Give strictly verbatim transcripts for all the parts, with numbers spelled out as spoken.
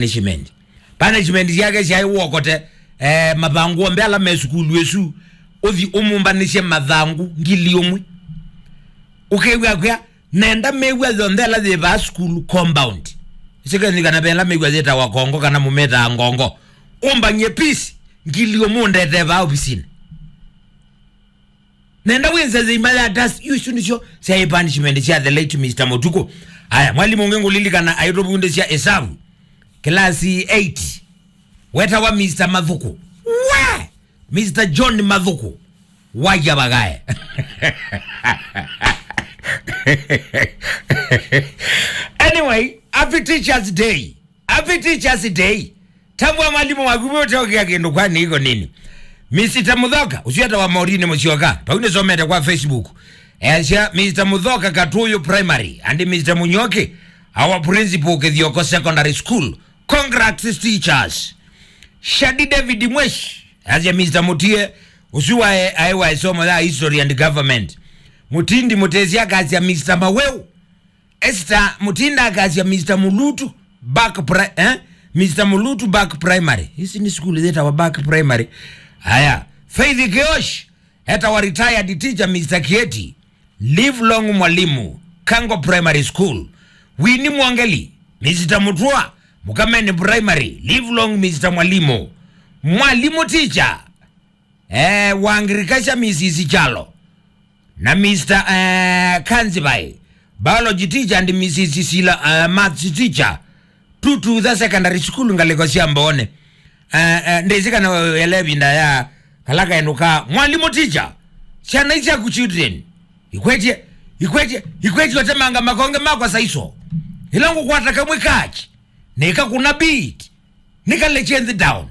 punishment. Punishment syake syaĩ wokote, eh, mathangũ onthe ala me sukulu ĩsu, ũthi ũmumbanĩsye mathangũ ngili ũmwe. Ũkew'a kwĩa, nenda mĩw'a yonthe ĩla yĩ vaa sukulu compound. Ĩsĩkeni kana vela mĩw'a yĩtawa kongo kana mũmĩtaa ngongo. Ũmbang'e pisi ngili ũmwe ũndetee vaa ovisinĩ. Nenda wĩnze thĩima ya dust, isu nĩsyo syaĩ punishment sya the late Mister Mũtukũ. Aya, mwalimũ ũngĩ ngũlilikana aitũvundĩsya ĩsavu. Kĩlasi eight. Wetawa Mister Mathũkũ. We! Mister John Mathũkũ. Waja bagae. Anyway, happy Teachers Day. Happy Teachers Day. Tambua mwalimũ waku ũteokea kĩndũ kwa niko nini. Mister Mũthoka, ũcio etawa Maureen Mũsyoka. Pau nĩsomete kwa Facebook. Easya, Mister Mũthoka Katuyu Primary and Mister Mũnyoki, our principal Kithioko Secondary School. Congrats teachers. Shadi David Mwesh, easya Mister Mũtie, ũsu wae aĩ wa ĩsomo ya History and Government. Mũtindi Mũtesi akasya Mister Maweu. Esther Mutinda akasya Mister Mulutu back pri eh? Mister Mulutu back primary. Hizi ni school zetawa back primary. Aya, Faith Kiosh, etawa retired teacher Mister Kieti. Live long mwalimu, Kango Primary School. Winnie Mwangeli, Mister Mutua, Mukameni Primary. Live long Mister Mwalimu. Mwalimu teacher, eh, wa agriculture Missus Chalo. Na Mister, eh, Kanzibai, biology teacher and Missus Sila, eh, maths teacher. Tututha Secondary School ngalĩko sya Mboone. Eh, eh, ndĩsĩ kana wele ĩvinda ya kala kaenũka. Mwalimu teacher, syana isyaku children. Ikwetye, ikwetye, ikwetye ũtemanga makonge makwa saiso. Ĩla ngũkwata kamwe kachi. Nĩkakũna beat. Nĩkale chenzi down.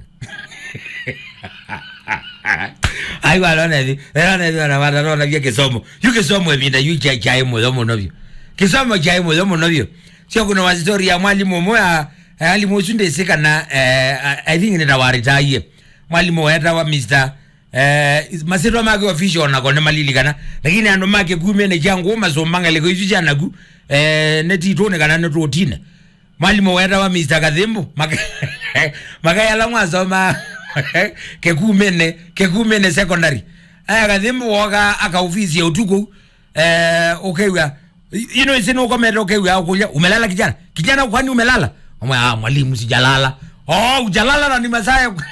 Ai, walona hivi, walona hivi, wana wata, walona vya kĩsomo. Yu kĩsomo ĩvinda yu cha, cha mũyo mũno vyu. Kĩsomo cha mũyo mũno vyu. Sio, kuna wa story ya mwalimu ũmwe, a, a, mwalimu ũsu ndĩsĩ kana, eh, I, I think nĩtawaritaie. Mwalimu wetawa Mister Eh, is- masĩtwa make official onako nĩmalilikana, lakini andũ make kumene kya ngũũ masũmba ngalĩko isu sya naku, eh, nĩ titũnĩ kana nĩ tũtine. Mwalimũ wetawa Mister Kathimbu, maka- makayala mwasoma Kekumene, Kekumene Secondary. Aya Kathimbu woka akaofisi ya ũtukũ, eh, ũkew'a, you know, isi nũkomete ũkew'a akũlya, "Umelala kijana? Kijana, kwani umelala?" Amwe, "Ah, mwalimu, sijalala." "Oh, ujalala na ni masaa ya ku-"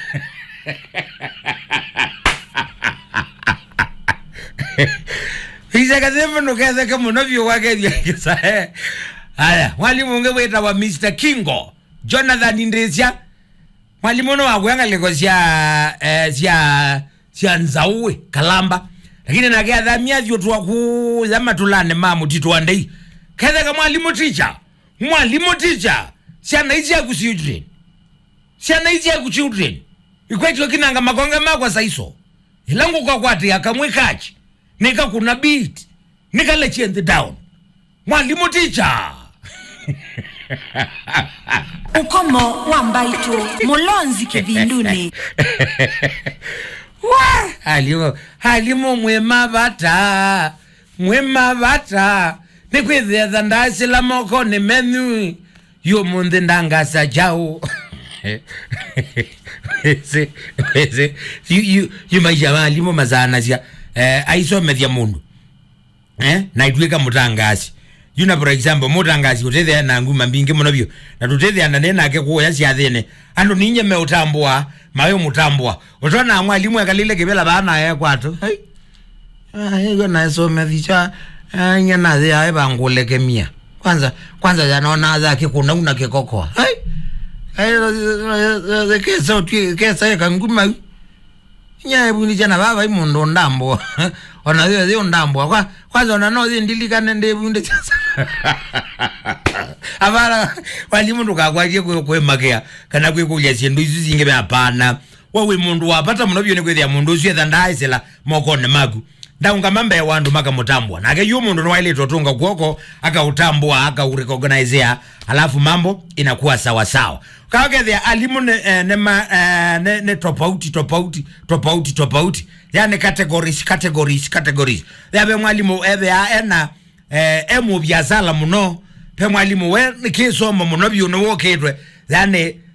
Isekathimbu ndũketheke mũno vyũ wakethya kĩsae. Aya, mwalimu ũngĩ wĩtawa Mister Kingo, Jonathan Ndĩsya. Mwalimu ũno wakwĩa ngalĩko sya, eh, sya sya nzaũĩ, Kalamba. Lakini nake athamia athi ũtũa kũya matũlanĩ ma mũtitũ wa ndei. Ketheka mwalimu teacher, mwalimu teacher, syana ici aku children. Syana ici aku children. Ikwetyo kinanga makonge makwa saiso. Ila ngũkakwatĩa kamwe kachi, nĩkakũna beat, nĩkale chenzi down. Mwalimu teacher. Ũkomo wa mbaitũ, mũlonzi kĩvindunĩ. Wa! Alimu, alimu mwĩ mavata, mwĩ mavata. Nĩkwĩthĩa tha ndasĩla mokonĩ menyu. Yu mũnthĩ ndangasa kyaũ. Wĩsĩ, wĩsĩ, yu, yu, yu maisha ma alimũ masaanasya, eh, aisomethya mũndũ. Eh, na itwĩka mũtangaasi. Yu na, for example, mũtangaasi ũtethea na nguma mbingĩ mũno vyũ. Na tũtethea na nĩ nake kũya syathĩnĩ. Andũ ninye meũtambũa, mawe mũtambũa. Ũtona mwalimũ ekalile kĩvela vaa na ekwatũ. Hai. Ah, ĩyo naĩsomethisya, ah, inya nathĩ aĩ vangũlekemia. Kwanza, kwanza yanona aza kĩkũnau na kĩkokoa. Hai. Ai, kesa ũtwi-, kesa ĩka nguma. Inya ĩvundĩsya na vava i mũndũ ũndambũa. Ona thĩ thĩ ũndambũa. Kwa, kwanza ona no thĩ ndilikane ndĩvundĩsya. Avara, walimu ndũkakwatie kwĩ-, kwĩmakĩa, kana kwĩkũlya syĩndũ isu singĩ ve, hapana. We wĩ mũndũ wa vata mũno vyũ nĩkwĩthĩa mũndũ ũsu etha ndaaĩsĩla mokonĩ maku. Ndaũngama mbee wa andũ makamũtambũa. Nake yu mũndũ nĩwaĩlĩte ũtũnga kw'oko, akaũtambũa, akaũrecognize, alafu mambo inakuwa sawa sawa. Kaũkethĩa alimũ nĩ, eh, nĩ ma-, eh, nĩ, nĩ tofauti, tofauti, tofauti, tofauti. Yani categories, categories, categories. Yave mwalimũ ethĩa ena eh, e mũviasala mũno. Ve mwalimũ we nĩ kĩsomo mũno vyũ nĩwũkĩtwe. Yani,